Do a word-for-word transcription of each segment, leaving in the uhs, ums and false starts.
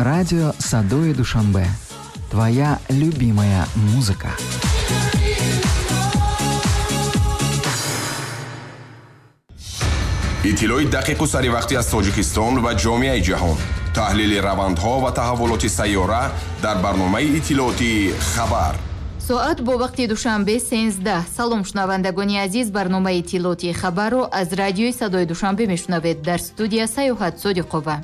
Радио Садои Душанбе. Твоя любимая музыка. Иттилои дақиқу саривақтӣ аз Тоҷикистон ва ҷомеаи ҷаҳон. Таҳлили равандҳо ва таҳаввулоти сайёра дар барномаи иттилоотии «Хабар». Соат бо вақти Душанбе сенздаҳ. Салом, шунавандагони азиз, барномаи иттилоотии «Хабарро» аз радиои Садои Душанбе мешунавед. Дар студия Саёҳат Содиқова.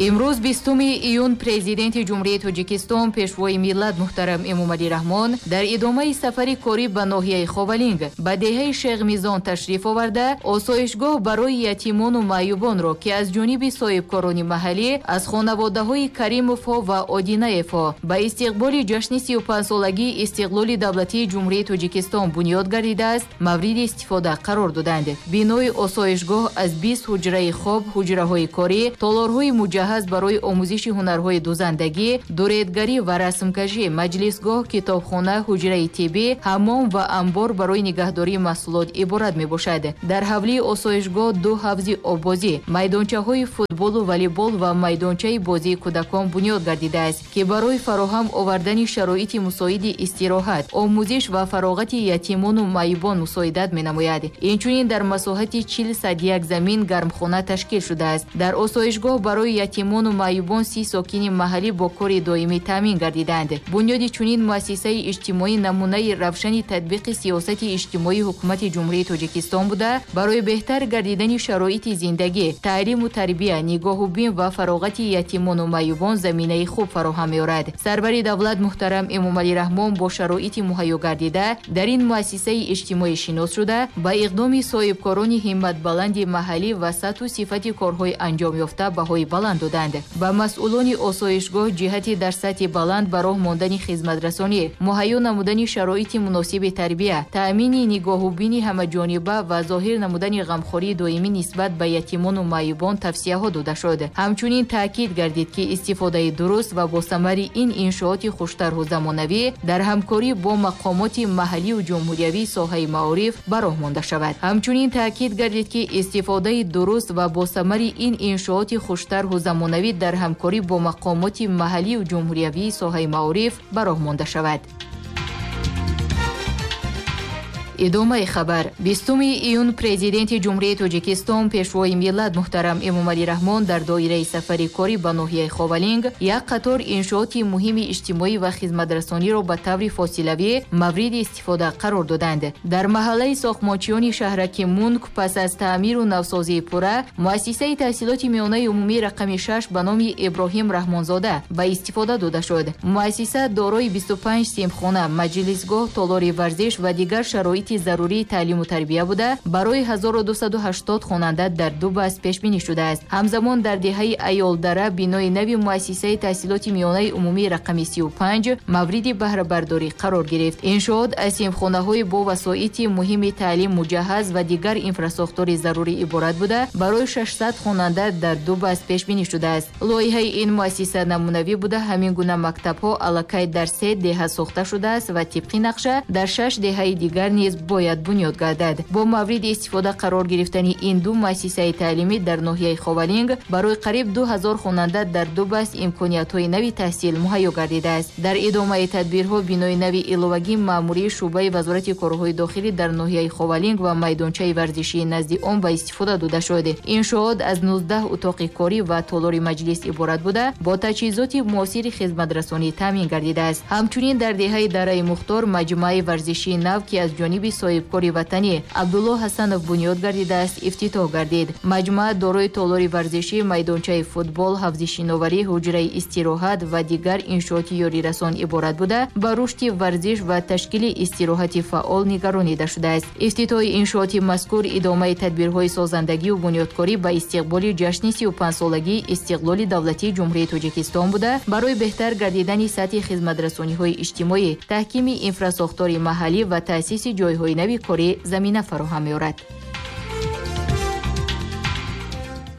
Имрӯз бистуми июн президенти Ҷумҳурии Тоҷикистон, пешвои миллат муҳтарам Эмомалӣ Раҳмон дар идомаи сафари корӣ ба ноҳияи Ховалинг ба деҳаи Шеғмизон ташриф оварда, осоишгоҳ барои ятимону маъюбонро, ки аз ҷониби соҳибкорони маҳаллӣ аз хонаводаҳои Каримовҳо ва Одинаевҳо ба истиқболи ҷашни сию панҷсолагии истиқлоли давлатии Ҷумҳурии Тоҷикистон бунёд гардидааст, мавриди истифода қарор доданд. Бинои осоишгоҳ аз бист ҳуҷраи хоб, ҳуҷраҳои корӣ, толорҳои муҷаҳҳаз барои омӯзиши ҳунарҳои дузандагӣ, дуредгарӣ ва расмкашӣ, маҷлисгоҳ, китобхона, ҳуҷраи тиббӣ, ҳаммом ва амбор барои нигаҳдории маҳсулот иборат мебошад. Дар ҳавлии осоишгоҳ ду ҳавзи оббозӣ, майдончаҳои футболу волейбол ва майдончаи бозии кӯдакон бунёд гардидааст, ки барои фароҳам овардани шароити мусоиди истироҳат, омӯзиш ва фароғати ятимону маъюбон мусоидат менамояд. Инчунин дар масоҳати чил сад як замин гармхона ташкил шудааст. Дар осоишгоҳ барои ятимону маъюбон си сокини маҳаллӣ бо кори доимӣ таъмин гардиданд. Бунёди чунин муассисаи иҷтимоӣ намунаи равшани татбиқи сиёсати иҷтимоии ҳукумати Ҷумҳурии Тоҷикистон буда, барои беҳтар гардидани шароити зиндагӣ, таълиму тарбия, нигоҳубин ва фароғати ятимону маъюбон заминаи хуб фароҳам меорад. Сарвари давлат муҳтарам Эмомалӣ Раҳмон бо шароити муҳайё гардида дар ин муассисаи иҷтимоӣ шинос шуда, ба иқдоми соҳибкорони ҳимматбаланди маҳаллӣ ва сатҳу сифати корҳои анҷомёфта баҳои баланд доданд. Ба масъулони осоишгоҳ ҷиҳати дар сатҳи баланд ба роҳ мондани хизматрасонӣ, муҳайё намудани шароити муносиби тарбия, таъмини нигоҳубини ҳамаҷониба ва зоҳир намудани ғамхории доимӣ нисбат ба ятимону маъюбон тавсияҳо дода шуд. Ҳамчунин таъкид гардид, ки истифодаи дуруст ва босамари ин иншооти хуштарҳу замонавӣ дар ҳамкорӣ бо мақомоти маҳаллию ҷумҳуриявии соҳаи маориф ба роҳ монда шавад. Ҳамчунин таъкид гардид, ки истифодаи дуруст ва босамари ин иншооти хуштарҳу замонавӣ дар ҳамкорӣ бо мақомоти маҳаллию ҷумҳуриявии соҳаи маориф ба роҳ монда шавад. Идомаи хабар. Бистуми июн президенти Ҷумҳурии Тоҷикистон, пешвои миллат муҳтарам Эмомалӣ Раҳмон дар доираи сафари корӣ ба ноҳияи Ховалинг як қатор иншооти муҳими иҷтимоӣ ва хизматрасониро ба таври фосилавӣ мавриди истифода қарор доданд. Дар маҳаллаи сохтмончиёни шаҳраки Мунк пас аз таъмиру навсозии пурра муассисаи таҳсилоти миёнаи умумӣ рақами шаш ба номи Иброҳим Раҳмонзода ба истифода дода шуд. Муассиса дорои бисту панҷ синфхона, маҷлисгоҳ, толори варзиш ва дигар шароити зарурии таълиму тарбия буда, барои ҳазору дусаду ҳаштод хонанда дар ду баст пешбинӣ шудааст. Ҳамзамон дар деҳаи Аёлдара бинои нави муассисаи таҳсилоти миёнаи умумии рақами сию панҷ мавриди баҳрабардорӣ қарор гирифт. Иншоот аз синфхонаҳои бо васоити муҳими таълим муҷаҳҳаз ва дигар инфрасохтори зарурӣ иборат буда, барои шашсад хонанда дар ду баст пешбинӣ шудааст. Лоиҳаи ин муассиса намунавӣ буда, ҳамин гуна мактабҳо аллакай дар се деҳа сохта шудааст ва тибқи нақша дар шаш деҳаи дигар низ бояд бунёд гардад. Бо мавриди истифода қарор гирифтани ин ду муассисаи таълимӣ дар ноҳияи Ховалинг барои қариб ду ҳазор хонанда дар ду баст имкониятҳои нави таҳсил муҳайё гардидааст. Дар идомаи тадбирҳо бинои нави иловагии маъмурии шӯъбаи Вазорати корҳои дохилӣ дар ноҳияи Ховалинг ва майдончаи варзишии назди он ба истифода дода шуд. Иншоот аз нуздаҳ утоқи корӣ ва толори маҷлис иборат буда, бо таҷҳизоти муосири хизматрасонӣ таъмин гардидааст. Ҳамчунин дар деҳаи Дараи Мухтор маҷмӯаи варзишии нав, ки аз ҷониби соҳибкори ватанӣ Абдулло Ҳасанов бунёд гардидааст, ифтитоҳ гардид. Маҷмӯа дорои толори варзишӣ, майдончаи футбол, ҳавзи шиноварӣ, ҳуҷраи истироҳат ва дигар иншооти ёрирасон иборат буда, ба рушди варзиш ва ташкили истироҳати фаъол нигаронида шудааст. Ифтитоҳи иншооти мазкур идомаи тадбирҳои созандагию бунёдкорӣ ба истиқболи ҷашни сию панҷсолагии истиқлоли давлатии Ҷумҳурии Тоҷикистон буда, барои беҳтар гардидани сатҳи хизматрасониҳои иҷтимоӣ, таҳкими инфрасохтори маҳаллӣ ва таъсиси ҷойҳои нави корӣ замина фароҳам меорад.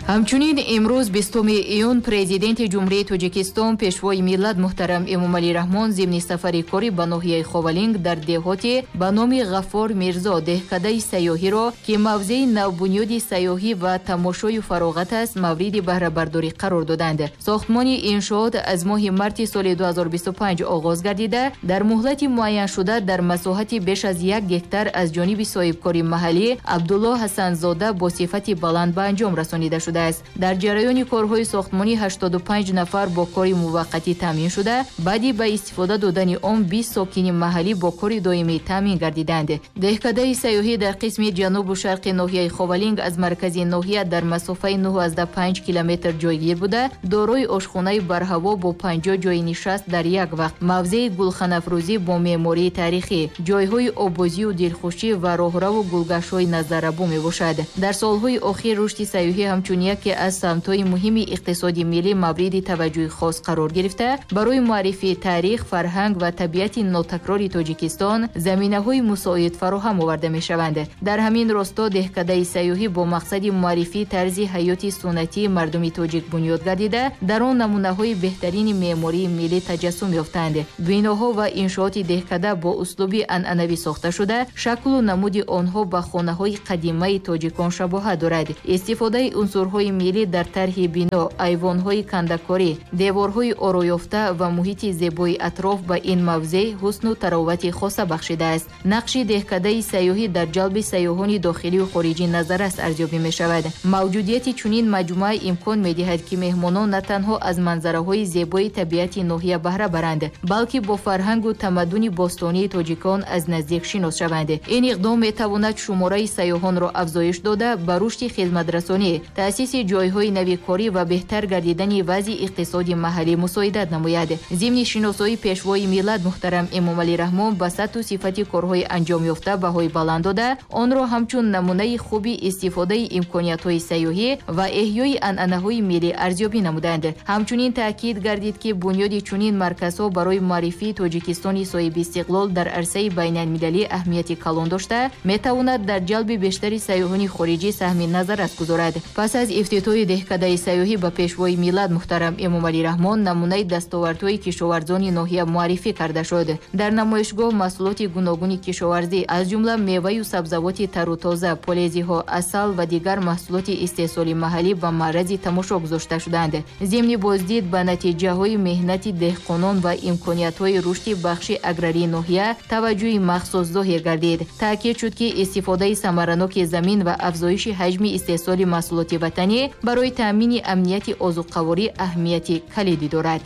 Ҳамчунин имрӯз бистуми июн Президенти Ҷумҳурии Тоҷикистон Пешвои миллат муҳтарам Эмомалӣ Раҳмон зимни сафари корӣ ба ноҳияи Ховалинг дар деҳоти ба номи Ғаффор Мирзо деҳкадаи сайёҳиро, ки мавзеи навбунёди сайёҳӣ ва тамошою фароғат аст, мавриди баҳрабардорӣ қарор доданд. Сохтмони иншоот аз моҳи марти соли ду ҳазору бисту панҷ оғоз гардида, дар муҳлати муайяншуда дар масоҳати беш аз як гектар аз ҷониби соҳибкори маҳаллӣ Абдулло Ҳасанзода бо сифати баланд ба анҷом расонида шудааст. Дар ҷараёни корҳои сохтмонӣ ҳаштоду панҷ нафар бо кори муваққатӣ таъмин шуда, баъди ба истифода додани он бист сокини маҳаллӣ бо кори доимӣ таъмин гардиданд. Деҳкадаи сайёҳӣ дар қисми ҷанубу шарқи ноҳияи Ховалинг аз маркази ноҳия дар масофаи нӯҳ панҷ километр ҷойгир буда, дорои ошхонаи барҳаво бо панҷоҳ ҷои нишаст дар як вақт, мавзеи гулханафрӯзӣ бо меъмории таърихӣ, ҷойҳои оббозию дилхушӣ ва роҳраву гулгаштҳои назаррабо мебошад. Дар солҳои охир рушди сайёҳӣ ҳамчун яке аз самтҳои муҳими иқтисоди миллӣ мавриди таваҷҷӯҳи хос қарор гирифта, барои муаррифии таърих, фарҳанг ва табиати нотакрори Тоҷикистон заминаҳои мусоид фароҳам оварда мешаванд. Дар ҳамин росто деҳкадаи сайёҳӣ бо мақсади муаррифии тарзи ҳаёти суннатии мардуми тоҷик бунёд гардида, дар он намунаҳои беҳтарини меъмории миллӣ таҷассум ёфтанд. Биноҳо ва иншооти деҳкада бо услуби анъанавӣ сохта шуда, шаклу намуди онҳо ба хонаҳои қадимаи тоҷикон шабоҳат дорад. Истифодаи унсурҳои миллӣ дар тарҳи бино, айвонҳои кандакорӣ, деворҳои ороёфта ва муҳити зебои атроф ба ин мавзеъ ҳусну таровати хоса бахшидааст. Нақши деҳкадаи сайёҳӣ дар ҷалби сайёҳони дохилию хориҷӣ назаррас арзёбӣ мешавад. Мавҷудияти чунин маҷмӯа имкон медиҳад, ки меҳмонон на танҳо аз манзараҳои зебои табиати ноҳия баҳра баранд, балки бо фарҳангу тамаддуни бостонии тоҷикон аз наздик шинос шаванд. Ин иқдом метавонад шумораи сайёҳонро афзоиш дода, ба рушди хизматрасонӣ, таъсиси ҷойҳои нави корӣ ва беҳтар гардидани вазъи иқтисоди маҳаллӣ мусоидат намояд. Зимни шиносоии Пешвои миллат муҳтарам Эмомалӣ Раҳмон ба сатҳу сифати корҳои анҷомёфта баҳои баланд дода, онро ҳамчун намунаи хуби истифодаи имкониятҳои сайёҳӣ ва эҳёи анъанаҳои миллӣ арзёбӣ намуданд. Ҳамчунин таъкид гардид, ки бунёди чунин марказҳо барои муаррифии Тоҷикистони соҳибистиқлол дар арсаи байналмилалӣ аҳамияти калон дошта, метавонад дар ҷалби бештари сайёҳони хориҷӣ саҳми назаррас гузорад. Пас аз ифтитоҳи деҳкадаи сайёҳӣ ба Пешвои миллат муҳтарам Эмомалӣ Раҳмон намунаи дастовардҳои кишоварзони ноҳия муаррифӣ карда шуд. Дар намоишгоҳ маҳсулоти гуногуни кишоварзӣ, аз ҷумла меваю сабзавоти тару тоза, полезиҳо, асал ва дигар маҳсулоти истеҳсоли маҳаллӣ ба маърази тамошо гузошта шуданд. Зимни боздид ба натиҷаҳои меҳнати деҳқонон ва имкониятҳои рушди бахши аграрии ноҳия таваҷҷӯҳи махсус зоҳир гардид. Таъкид шуд, ки истифодаи самараноки замин ва афзоиши ҳаҷми истеҳсоли маҳсулоти ватанӣ барои таъмини амнияти озуқаворӣ аҳамияти калидӣ дорад.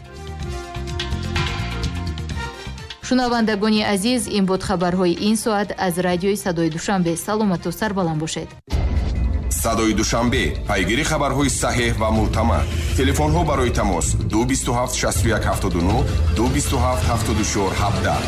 Шунавандагони азиз, ин буд хабарҳои ин соат аз радиои Садои Душанбе. Саломату сарбаланд бошед. Садои Душанбе, пайгири хабарҳои саҳеҳ ва мӯътамад. Телефонҳо барои тамос ду бисту ҳафт шасту як ҳафтоду нӯҳ, ду бисту ҳафт ҳафтоду чор ҳабдаҳ.